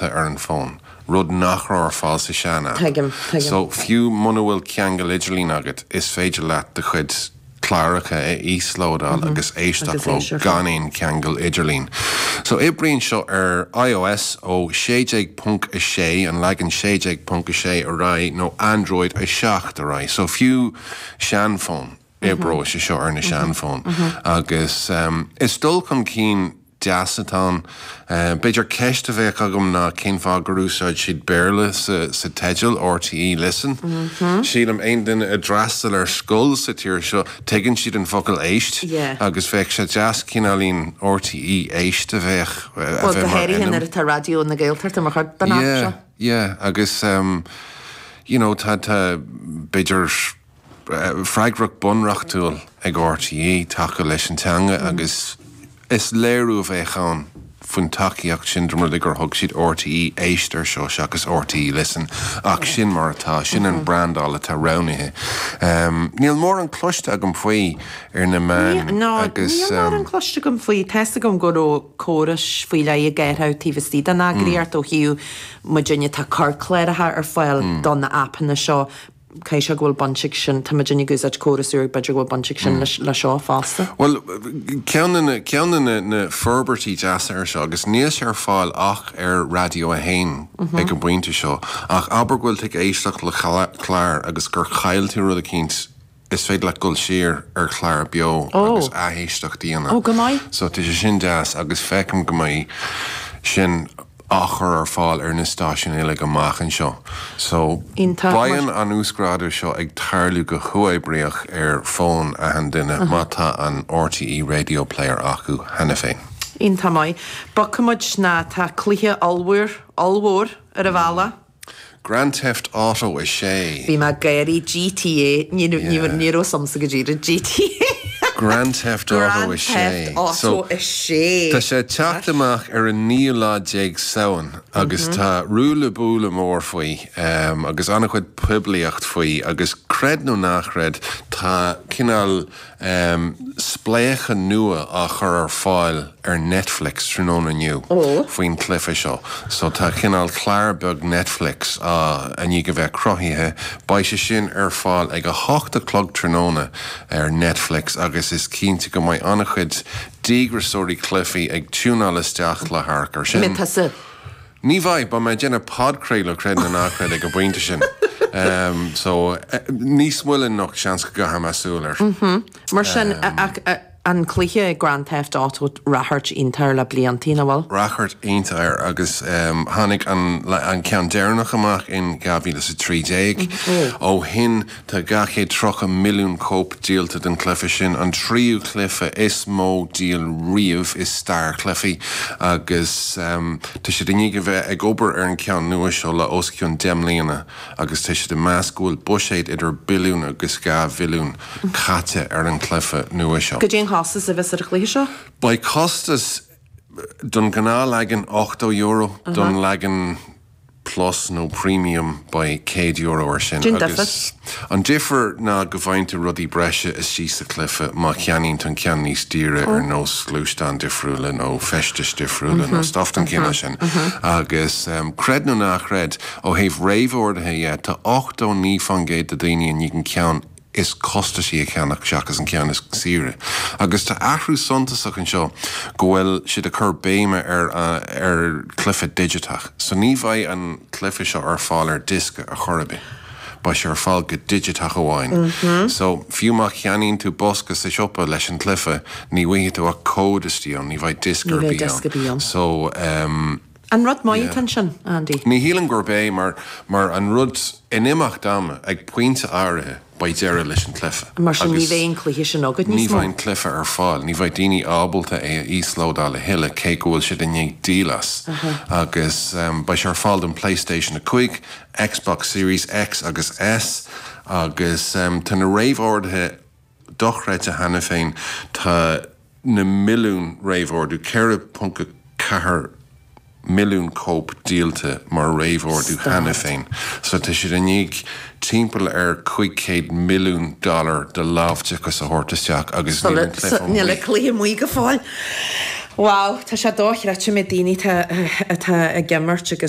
taifeadta ar an bhfón, rud nach raibh ar fáil sa sean-aip. Tuigim, tuigim. So, fiú muna bhfuil ceangal idirlín agat, is féidir leat do chuid cláracha a íoslódáil agus éisteacht leo gan aon cheangal idirlín. So, oibríonn seo ar iOS ó 16.6, an leagan 16.6 ar aghaidh, nó Android 7 ar aghaidh. So, fiú seanfhóin, oibreoidh sé seo ar na seanfhóin. Agus is dul chun cinn deas atá ann. B'fhéidir ceist a bheadh agam ná cén fáth gur úsáid siad Béarla sa teideal, RTÉ Listen. Sílim aon duine a d'fhreastail ar scoil sa tír seo, tuigeann siad an focal éist agus bheadh sé deas cineáilín RTÉ Éist a bheadh a bheith mar ainm. Bhuel, go háirithe nuair atá Raidió na Gaeltachta mar chuid den aip seo. Yeah, yeah agus you know tá, tá b'fhéidir freagracht bunreachtúil ag RTÉ tacú leis an teanga agus is léiriú a bheadh ann faoin tacaíocht sin dá mba rud é gur thug siad RTÉ Éist air seo seachas RTÉ Listen ach sin mar atá, sin an brandáil atá roghnaithe. Níl mórán cloiste agam faoi ar na meáin agus. Níl mórán cloiste agam faoi. Tá 'fhios agam go raibh córais faoi leith ag athrú taobh istigh den eagraíocht ó thaobh muidinne tá cur cláracha ar fáil do na aipeanna seo. Caithfidh sé go bhfuil baint ag sin, tá muidinne ag úsáid córas úr, b'fhéidir go bhfuil baint ag sin le seo fosta. Bhuel, ceann de na, ceann de na, na forbairtí deasa ar seo, agus níl sé ar fáil ach ar Raidió 1 ag an bpointe seo, ach abair go bhfuil tú ag éisteacht le clár agus gur chaill tú rud eicínt, is féidir leat dul siar ar chlár beo agus athéisteacht a dhéanamh. Ó, go maith. So tá sé sin deas agus feicim go mbeidh sin á chur ar fáil ar na stáisiúin uilig amach anseo. So, Iontach. beidh an uasghrádú seo ag tarlú go huathoibríoch ar fón achan duine má tá an RTÉ Radio Player acu cheana féin. Iontach maith. Bogfaidh muid ná tá cluiche ollmhór, ollmhór ar an bhealach. Grand Theft Auto 6. Bhí mé ag gáirí GTA, ní raibh fhios a'msa go díreach GTA. Grand Theft Auto 6. Grand Theft Auto 6. Tá sé ag teacht amach ar an naoú lá déag Samhain agus tá ruaille buaille mór faoi agus an-chuid poiblíocht faoi agus creid nó ná creid tá cineál spléachadh nua á chur ar fáil ar Netflix tráthnóna inniu faoin chluiche seo. So tá cineál clár beag Netflix á i ndiaidh a bheith cruthaithe. Beidh sé sin ar fáil ag 8 a chlog tráthnóna ar Netflix agus is cinnte go mbeidh an-chuid díograiseoirí cluichí ag tiúnáil isteach le hamharc air sin. An mbeidh tusa? Ní bheidh, beidh mé ag déanamh podchraoladh, creid nó ná creid, ag an bpointe sin. So, níos moille anocht, seans go gcaithfidh mé súil air. Mar sin, ach an cluiche Grand Theft Auto, ráchairt iontach air le bliantaí, nach bhfuil? Ráchairt iontach air agus tháinig an ceann deireanach amach in 2013. Ó shin, Tá 230 milliún cóip díolta den chluiche sin, an tríú cluiche is mó díol riamh i stair chluichí, agus tá siad i ndiaidh a bheith ag obair ar an cheann nua seo le os cionn 10 mbliana agus tá siad ag meas go bhfuil buiséad idir billiún agus 2 bhilliún caite ar an chluiche nua seo. Goidé an costas a bheas ar an chluiche seo? Beidh costas don ghnáthleagan €80, don leagan Plus nó Premium beidh €100 air sin. Cén difear? An difear ná go bhfaigheann tú rudaí breise istigh sa chluiche má cheannaíonn tú an ceann níos daoire ar nós gluaisteáin difriúla nó feistis difriúla nó stuff den chineál sin. Agus creid nó ná creid, ó thaobh réamhordaithe dhe, tá 89% de daoine i ndiaidh an ceann is costasaí a cheannach seachas an ceann is saoire. Agus tá athrú suntasach anseo go bhfuil siad ag cur béime ar ar chluiche digiteach. So ní bheidh an cluiche seo ar fáil ar diosca ar chor ar bith. Beidh sé ar fáil go digiteach amháin. So fiú má cheannaíonn tú bosca sa siopa leis an chluiche, ní bhfaighidh tú ach cód istigh ann, ní bheidh diosca ar bith ann. So ehm. An rud maith atá ansin, Andy? Ní shílim gurb é mar mar an rud in imeacht ama, ag pointe áirithe, beidh deireadh leis an chluiche. Mar sin ní bheidh an cluiche sin agat níos mó. Ní bheidh an cluiche ar fáil. Ní bheidh daoine ábalta é a íoslódáil a thuilleadh cé go bhfuil siad i ndiaidh díol as. Agus beidh sé ar fáil don PlayStation 5, Xbox Series X agus S agus tá na réamhorduithe dochreidte cheana féin. Tá na milliúin réamhordú, 4.4 milliún cóip díolta mar réamhordú cheana féin. So tá siad i ndiaidh timpeall ar 500 milliún dollar de láimhdeachas a thabhairt isteach agus níl an cluiche amuigh. Níl an cluiche amuigh go fóill. Wow, tá sé dochreidte méid daoine atá ag imirt agus.